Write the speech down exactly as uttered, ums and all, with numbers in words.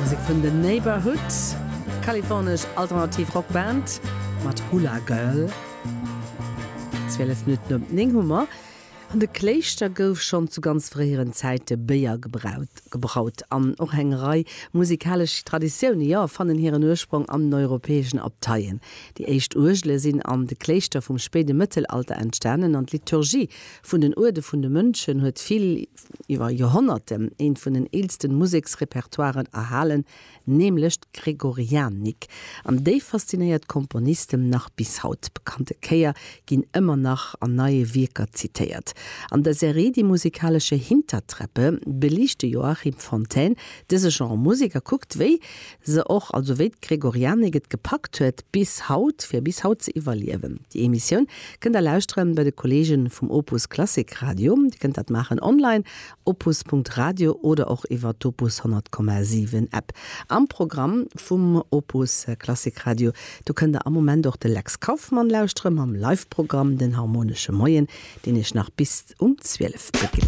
Musek vun The Neighbourhood, kalifornesch alternativ Rockband mat Hula Girl. zwielef Minutten op néng hu mer. An de Kléischter gouf schonn zu ganz fréieren Zäite Béier gebraut, gebraut. An och eng Rei musikalesch Traditioune, jo, fannen hiren Ursprong an den europäeschen Abteien. Déi éischt Uergele sinn an de Kléischter vum spéide Mëttelalter entstanen an d'Liturgie vun den Uerde vun de Mönchen huet vill iwwer Joerhonnerten een vun den eelsten Museksrepertoiren erhalen, nämlech d'Gregorianik. An déi faszinéiert Komponisten nach bis haut. Bekannte Chéier ginn ëmmer nach an neie Wierker zitéiert. An der Serie Die musikalische Hintertreppe beliicht de Joachim Fontaine dëse Genre Musek a kuckt, wéi se och, also wéi d'Gregorianik et gepackt huet, bis haut, fir bis haut ze iwwerliewen. Déi Emissioun kënnt der lauschteren bei de Kolleegen vum Opus Klassik Radio. Dir kënnt dat maachen online opus Punkt radio oder och iwwer d'Opus honnert Komma siwen App. Am Programm vum Opus Klassik Radio, do kënnt der am Moment och de Lex Kauffmann lauschtere mam Live-Programm Den harmonesche Moien, deen iech nach bis um zwielef begleet.